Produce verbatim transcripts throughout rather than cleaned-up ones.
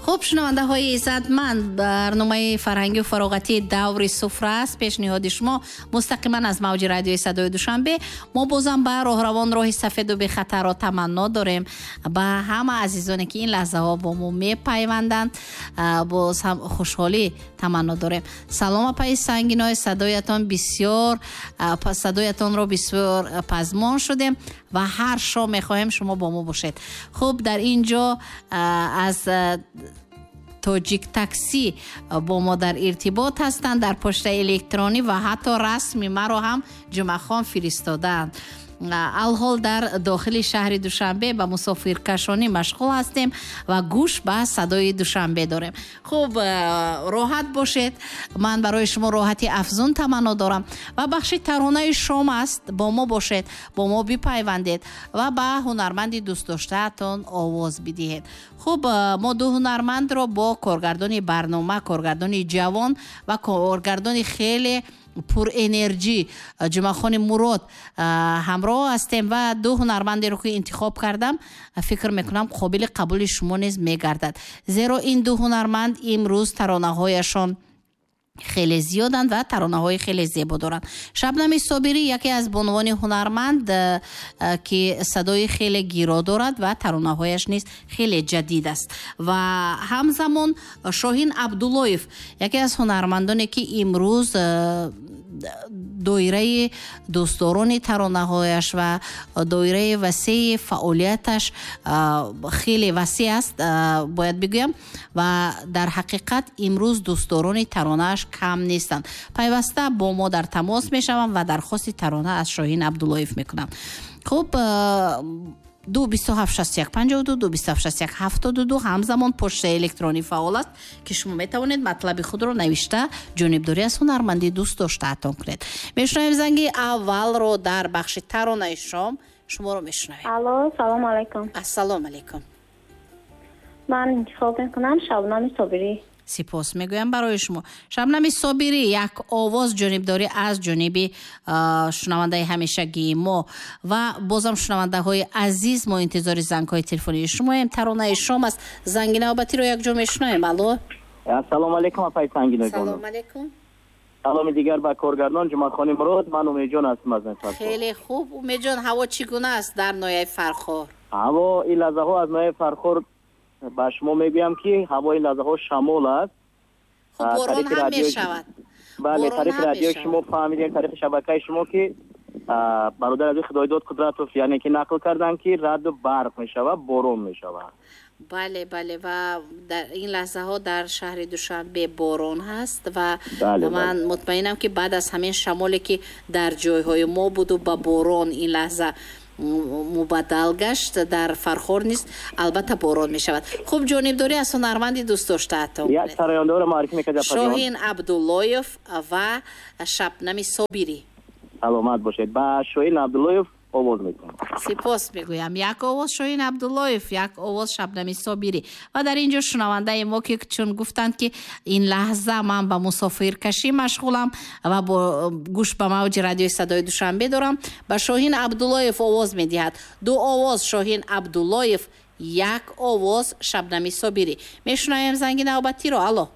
Хуб, шунавандаҳои иззатманд, барномаи фарҳангию фароғатии «Даври суфра» аст, пешниҳоди шумо мустақиман аз мавҷи радиои «Садои Душанбе». Мо бозам ба роҳравон роҳи сафеду бехатарро таманно дорем. Ба ҳама азизоне, ки ин лаҳзаҳо бо мо мепайванданд, боз ҳам хушҳолӣ таманно дорем. Салом, апаи Сангиной, садоятон бисёр, садоятонро бисёр пазмон шудем ва ҳар шом мехоҳем шумо бо мо бошед. Хуб, дар ин ҷо аз «Тоҷик Таксӣ» бо мо дар иртибот ҳастанд, дар почтаи электронӣ ва ҳатто расми маро ҳам Ҷумъахон фиристодаанд. Алҳол дар дохили шаҳри Душанбе ба мусофиркашонӣ машғул ҳастем ва гӯш ба «Садои Душанбе» дорем. Хуб, роҳат бошед, ман барои шумо роҳати афзун таманно дорам. Ва бахши таронаи шом аст, бо мо бошед, бо мо бипайвандед ва ба ҳунарманди дӯстдоштаатон овоз бидиҳед. Хуб, мо ду ҳунармандро бо коргардони барнома, коргардони ҷавон ва коргардони хеле пурэнерҷӣ Ҷумъахони Мурод ҳамроҳ ҳастем ва ду ҳунармандеро, ки интихоб кардам, фикр мекунам, қобили қабули шумо низ мегардад, зеро ин ду ҳунарманд имрӯз таронаҳояшон хеле зиёданд ва таронаҳои хеле зебо доранд. Шабнами Собирӣ, яке аз бонувони ҳунарманд, ки садои хеле гиро дорад ва таронаҳояш низ хеле ҷадид аст, ва ҳамзамон Шоҳин Абдуллоев, яке аз ҳунармандоне, ки имрӯз доираи дӯстдорони таронаҳояш ва доираи васеи фаъолияташ хеле васеъ аст, бояд бигӯям, ва дар ҳақиқат имрӯз дӯстдорони таронааш кам нестанд. Пайваста бо мо дар тамос мешаванд ва дархости тарона аз Шоҳин Абдуллоев мекунанд. Хуб, ду бисту ҳафт шасту як панҷоҳу ду, ду бисту ҳафт шасту як ҳафтоду ду. Ҳамзамон почтаи электронӣ фаъол аст, ки шумо метавонед матлаби худро навишта, ҷонибдорӣ аз ҳунарманди дӯст доштаатон кунед. Мешунавем занги аввалро дар бахши таронаи шом. Шуморо мешунавем. Алло, салому алайкум. Ассалому алайкум. Ман интихоб мекунам Шабнами Собирӣ. Сипос мегӯям барои шумо. Шабнами Собирӣ, як овоз ҷонибдорӣ аз ҷониби шунавандаи ҳамешагии мо. Ва бозам, шунавандаҳои азиз, мо интизори зангҳои телефонии шумоем. Таронаи шом аст. Занги навбатиро якҷо мешунавем. Алло. Ассалому алайкум, апаи Сангиной. Салому алайкум. Саломи дигар ба коргардон Ҷумъахони Мурод. Ман Умедҷон ҳастам аз Фархор. Хеле хуб, Умедҷон, ҳаво чӣ гуна аст дар ноҳияи Фархор? Ҳаво ин лаҳзаҳо аз ноҳияи Фархор ба шумо мегӯям, ки ҳавои лаҳзаҳо шамол аст. Хуб, борон ҳам мешавад. Бале, тариқи радиои шумо фаҳмидем, тариқи шабакаи шумо, ки бародар азиз Худойдод Қудратов, яъне ки нақл карданд, ки раъду барқ мешавад, борон мешавад. Бале, бале, ва дар ин лаҳзаҳо дар шаҳри Душанбе борон ҳаст ва ман мутмаинам, ки баъд аз ҳамин шамоле, ки дар ҷойҳои мо буду ба борон ин лаҳза мубаддал гашт, дар Фархор низ албатта борон мешавад. Хуб, ҷонибдорӣ аз ҳунарманди дӯстдоштаатон. Як сарояндаро муаррифӣ мекард. Шоҳин Абдуллоев ва Шабнами Собирӣ. Саломат бошед. Ба Шоҳин Абдуллоев овоз мекунам. Сипос мегӯям. Як овоз Шоҳин Абдуллоев, як овоз Шабнами Собирӣ. Ва дар ин ҷо шунавандаи мо, ки чун гуфтанд, ки ин лаҳза ман ба мусофиркашӣ машғулам ва бо гӯш ба мавҷи радиои «Садои Душанбе» дорам, ба Шоҳин Абдуллоев овоз медиҳад. Ду овоз Шоҳин Абдуллоев, як овоз Шабнами Собирӣ. Мешунавем занги навбатиро. Алло.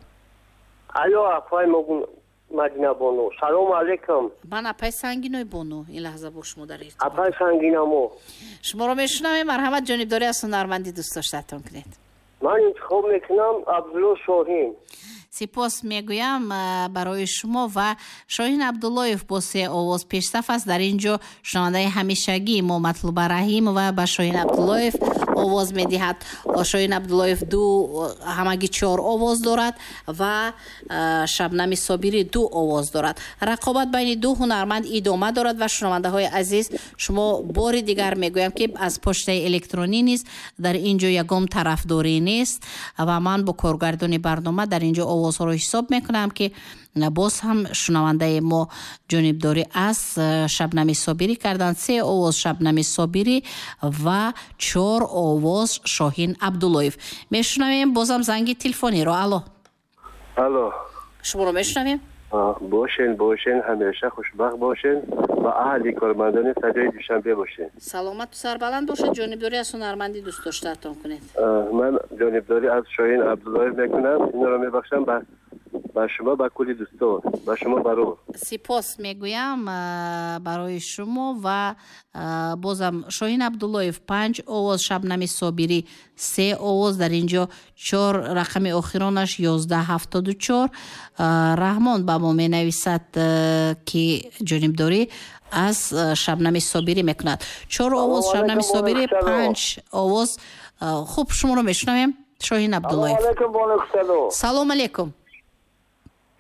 Алло, апай Мадина бону, салому алейкум. Ман апай Сангиной бону ин лаҳза бо шумо дар иртибот. Апай Сангинамо. Шуморо мешунавем. Марҳамат, ҷонибдорӣ аз ҳунарманди дӯстдоштаатон кунед. Ман интихоб мекунам Абдулло Шоҳин. Сипос мегӯям барои шумо. Ва Шоҳин Абдуллоев бо се овоз пешсаф аст. Дар ин ҷо шунавандаи ҳамешагии мо Матлуба Раҳимова ба Шоҳин Абдуллоев овоз медиҳад. Шоҳин Абдуллоев ду, ҳамагӣ чор овоз дорад ва Шабнами Собирӣ ду овоз дорад. Рақобат байни ду ҳунарманд идома дорад. Ва шунавандаҳои азиз, шумо бори дигар мегӯям, ки аз почтаи электронӣ низ дар ин ҷо ягон тарафдорӣ нест ва ман бо коргардони барнома дар ин ҷо овозҳоро ҳисоб мекунам, ки боз ҳам шунавандаи мо ҷонибдорӣ аз Шабнами Собирӣ карданд. Се овоз Шабнами Собирӣ ва чор овоз Шоҳин Абдуллоев. Мешунавем бозам занги телефониро. Алло. Алло. Шуморо мешунавем. Бошен, бошен, ҳамеша хушбахт бошен. ва аҳли кормандони садои Душанбе бошед. Саломат ва сарбаланд бошед. Ҷонибдорӣ аз ҳунарманди дӯст доштаатон кунед. Ман ҷонибдорӣ аз Шоҳин Абдуллоев мекунам. Инро мебахшам ба ба шумо, ба кулли дӯстон, ба шумо барор. Сипос мегӯям барои шумо ва бозам Шоҳин Абдуллоев панҷ овоз, Шабнами Собирӣ се овоз, дар инҷо чор рақами охиронаш ёздаҳ ҳафтоду чор. Раҳмон ба мо менависад, ки ҷонибдорӣ аз Шабнами Собирӣ мекунад. Чор овоз Шабнами Собирӣ, панҷ овоз. Хуб, шуморо мешунавем, Шоҳин Абдуллоев. Салом алейкум.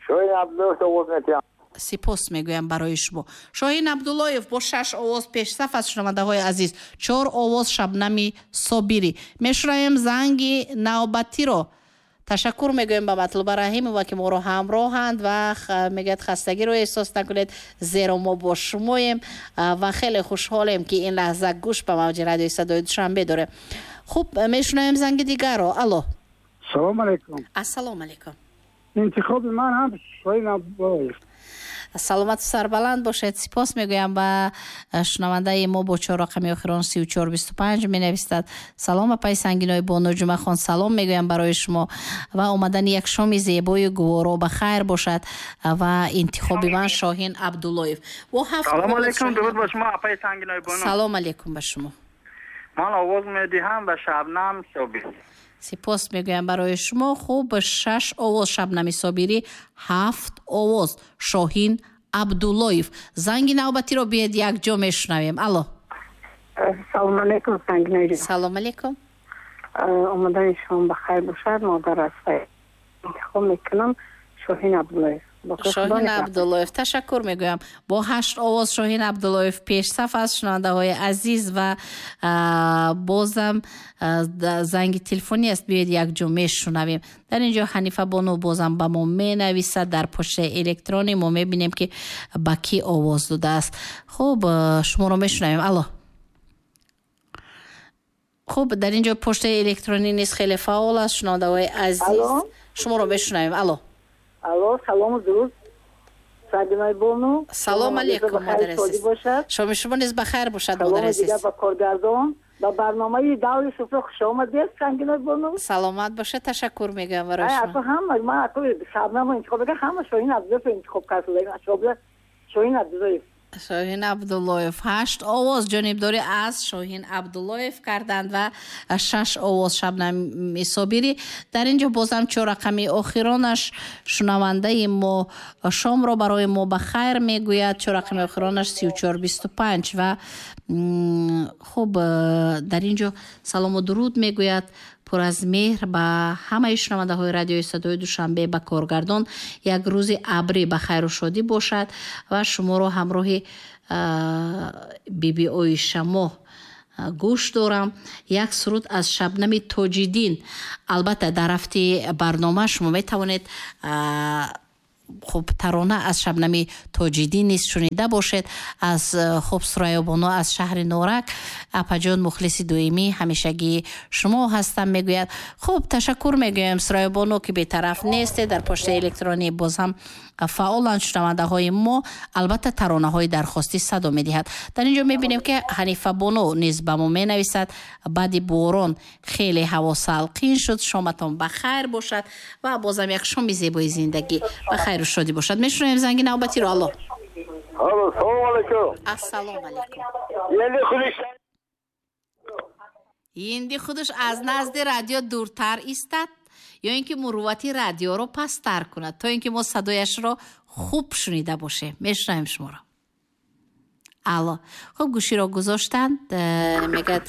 Шоҳин Абдуллоев овоз метиҳам. Сипос мегӯям барои шумо. Шоҳин Абдуллоев бо шаш овоз пешсаф аз шунавандаҳои азиз. Чор овоз Шабнами Собирӣ. Мешунавем занги навбатиро. Ташаккур мегӯем ба Матлуба Раҳимова, ки моро ҳамроҳанд ва мегӯяд хастагиро эҳсос накунед, зеро мо бо шумоем ва хеле хушҳолем, ки ин лаҳза гӯш ба мавҷи радиои садои Душанбе дорем. Хуб, мешунавем занги дигарро. Алло. Салом алейкум. Ассалому алейкум. Интихоби ман ҳам Шоҳин Абдуллоев. Саломат сарбаланд бошед. Сипос мегӯям ба шунавандаи мо бо чор рақами охирон сию чор бисту панҷ менависад. Салом апаи Сангинои бону Ҷумъахон, салом мегӯям барои шумо ва омадани як шоми зебои гуворо ба хайр бошад ва интихоби ман Шоҳин Абдуллоев. Салом алейкум, дуруд ба шумо апаи Сангинои бону. Салом алейкум ба шумо. Ман овоз медиҳам ба Шабнам Собирӣ. Сипос мегӯям барои шумо. Хуб, шаш овоз Шабнами Собирӣ, ҳафт овоз Шоҳин Абдуллоев. Занги навбатиро биед якҷо мешунавем. Алло. Салом алейкум, Сангинои. Салом алейкум. Омадани шумо ба хайр бошад. Модар аз интихоб мекунам Шоҳин Абдуллоев. Шоҳин Абдуллоев, ташаккур мегӯям. Бо ҳашт овоз Шоҳин Абдуллоев пешсаф аст, шунавандаҳои азиз, ва бозам занги телефонӣ аст, биёед якҷо мешунавем. Дар инҷо Ҳанифа бону бозам ба мо менависад дар почтаи электронӣ. Мо мебинем, ки ба кӣ овоз додааст. Хуб, шуморо мешунавем. Алло. Хуб, дар инҷо почтаи электронӣ низ хеле фаъол аст, шунавандаҳои азиз. Шуморо мешунавем. Алло. Алло, салом, дуруд. Сангинои бону. Салом алейкум, модар азиз. Шоми шумо низ ба хайр бошад, модар азиз. Салом ба коргардон, ба барномаи даври суфра хуш омадед, Сангинои бону. Саломат бошед, ташаккур мегӯям барои шумо. Ай, ҳама ман ако Шабнамро интихоб кардам, ҳама Шоҳин Абдуллоевро интихоб кардам. Шоҳин Абдуллоев. Шоҳин Абдуллоев. Ҳашт овоз ҷонибдорӣ аз Шоҳин Абдуллоев карданд ва шаш овоз Шабнами Собирӣ. Дар инҷо бозам чор рақами охиронаш шунавандаи мо шомро барои мо ба хайр мегӯяд. Чор рақами охиронаш сию чор бисту панҷ ва хуб, дар инҷо салому дуруд мегӯяд пур аз меҳр ба ҳамаи шунавандаҳои радиои садои Душанбе, ба коргардон. Як рӯзи абрӣ ба хайру шодӣ бошад ва шуморо ҳамроҳи биби Оишамо гӯш дорам. Як суруд аз Шабнами Тоҷиддин. Албатта, дар рафти барнома шумо метавонед хуб тарона аз Шабнами Тоҷиддин низ шунида бошед. Аз хуб Сурайё бону аз шаҳри Норак, апаҷон мухлиси доимӣ ҳамешагии шумо ҳастам мегӯяд. Хуб, ташаккур мегӯям Сурайё бону, ки бетараф нестед. Дар почтаи электронӣ боз ҳам фаъоланд шунавандаҳои мо. Албатта, таронаҳои дархостӣ садо медиҳад. Дар инҷо мебинем, ки Ҳанифа бону низ ба мо менависад: баъди борон хеле ҳаво салқин шуд, шоматон ба хайр бошад ва бозам як шоми зебои зиндагӣ ба хайру шодӣ бошад. Мешунавем занги навбатиро. Алло. Алло, салом алейкум. Ассалому алейкум. Инди худаш аз назди радио дуртар истад ё ин ки муруввати радиоро пасттар кунад, то ин ки мо садояшро хуб шунида бошем. Мешунавем шуморо. Алло. Хуб, гӯширо гузоштанд. Мегӯяд,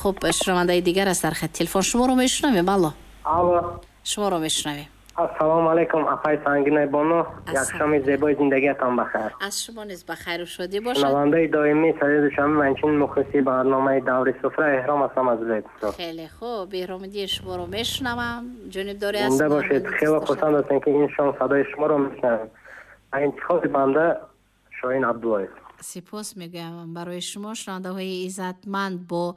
хуб, шунавандаи дигар аст дар хат телефон. Шуморо мешунавем. Алло. Алло. Шуморо мешунавем. Ассалому алейкум, апаи Сангинои бону. Як шоми зебои зиндагиатон ба хайр. Аз шумо низ ба хайру шодӣ бошад. Шунавандаи доимии садои Душанбе, ман чунин мухлиси барномаи даври суфра Эҳром ҳастам аз Ӯзбекистон. Хеле хуб, Эҳромиддин, шуморо мешунавам. Ҷонибдорӣ аз зинда бошед. Хеле хурсанд ҳастем, ки ин шом садои шуморо мешунавем. Ба интихоби банда Шоҳин Абдуллоев. Сипос мегӯям барои шумо, шунавандаҳои иззатманд, бо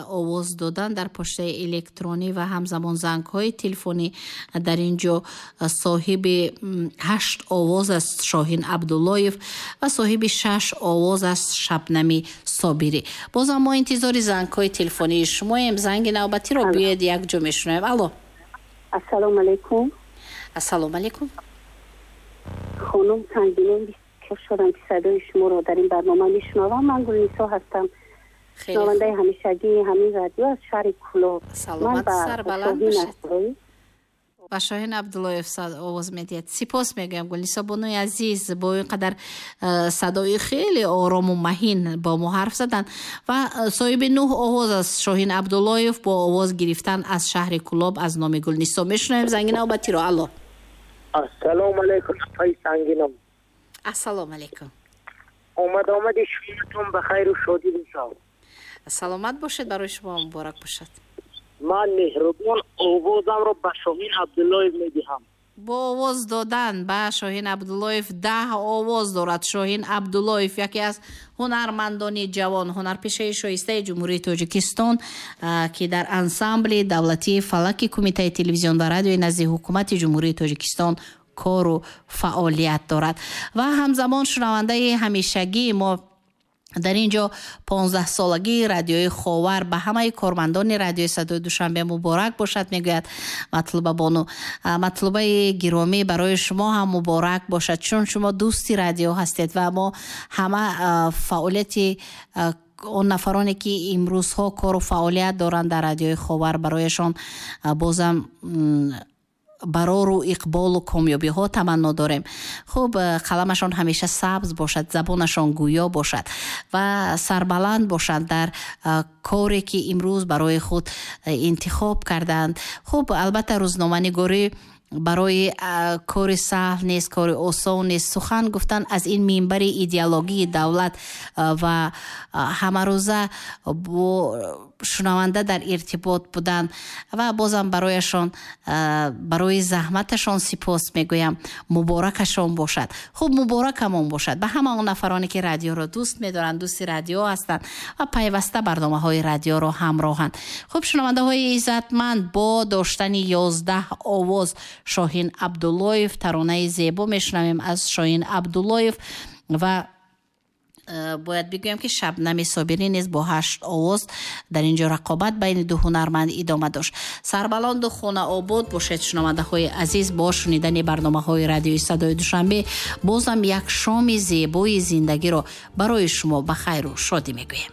овоз додан дар почтаи электронӣ ва ҳамзамон зангҳои телефонӣ. Дар ин ҷо соҳиби ҳашт овоз аст Шоҳин Абдуллоев ва соҳиби шаш овоз аст Шабнами Собирӣ. Бозам мо интизори зангҳои телефонии шумоем. Занги навбатиро биёед якҷо мешунавем. Алло. Ассалому алайкум. Ассалому алайкум. Хонум Сангинон, бисёр шодам ки садои шуморо дар ин барнома мешунавам. Ман Гулнисо ҳастам, шунавандаи ҳамешагии ҳамин радио аз шаҳри Кӯлоб. Саломат, сарбаланд бошед. Ба Шоҳин Абдуллоев овоз медиҳад. Сипос мегӯям, Гулнисо бонуи азиз, бо ин қадар садои хеле орому маҳин бо мо ҳарф задан. Ва соҳиби нӯҳ овоз аст Шоҳин Абдуллоев бо овоз гирифтан аз шаҳри Кӯлоб аз номи Гулнисо. Мешунавем занги навбатиро. Алло. Ассалому алайкум, апаи Сангинон. Ассалому алайкум. Омад омади шуматон ба хайру шодӣ бошад. Саломат бошед, барои шумо муборак бошад. Ман меҳрубон овозамро ба Шоҳин Абдуллоев медиҳам. Бо овоз додан ба Шоҳин Абдуллоев даҳ овоз дорад. Шоҳин Абдуллоев яке аз ҳунармандони ҷавон, ҳунарпешаи шоистаи Ҷумҳурии Тоҷикистон, ки дар ансамбли давлатии фалаки Кумитаи телевизион ва радиои назди ҳукумати Ҷумҳурии Тоҷикистон кору фаъолият дорад. Ва ҳамзамон шунавандаи ҳамешагии мо дар ин ҷо понздаҳсолагии радиои Ховар ба ҳамаи кормандони радиои Садои Душанбе муборак бошад, мегӯяд Матлуба бону. Матлубаи гиромӣ, барои шумо ҳам муборак бошад, чун шумо дӯсти радио ҳастед ва мо ҳама фаъолияти он нафароне ки имрӯзҳо кору фаъолият доранд дар радиои Ховар, барояшон бозам барору иқболу комёбиҳо таманно дорем. Хуб, қаламашон ҳамеша сабз бошад, забонашон гӯё бошад ва сарбаланд бошанд дар коре ки имрӯз барои худ интихоб кардаанд. Хуб, албатта рӯзноманигорӣ барои кори саҳл нест, кори осон нест. Сухан гуфтан аз ин минбари идеологии давлат ва ҳамарӯза бо шунаванда дар иртибот будан ва бозам барояшон, барои заҳматашон сипос мегӯям. Муборакашон бошад. Хуб, муборакамон бошад ба ҳама он нафароне ки радиоро дӯст медоранд, дӯсти радио ҳастанд ва пайваста барномаҳои радиоро ҳамроҳанд. Хуб, шунавандаҳои иззатманд, бо доштани ёздаҳ овоз Шоҳин Абдуллоев, таронаи зебо мешунавем аз Шоҳин Абдуллоев ва бояд бигӯям ки Шабнами Собирӣ низ бо ҳашт овоз дар ин ҷо рақобат байни ду ҳунарманд идома дошт. Сарбаланду хонаобод бошед, шунавандаҳои азиз, бо шунидани барномаҳои радиои Садои Душанбе бозам як шоми зебои зиндагиро барои шумо ба хайру шодӣ мегӯем.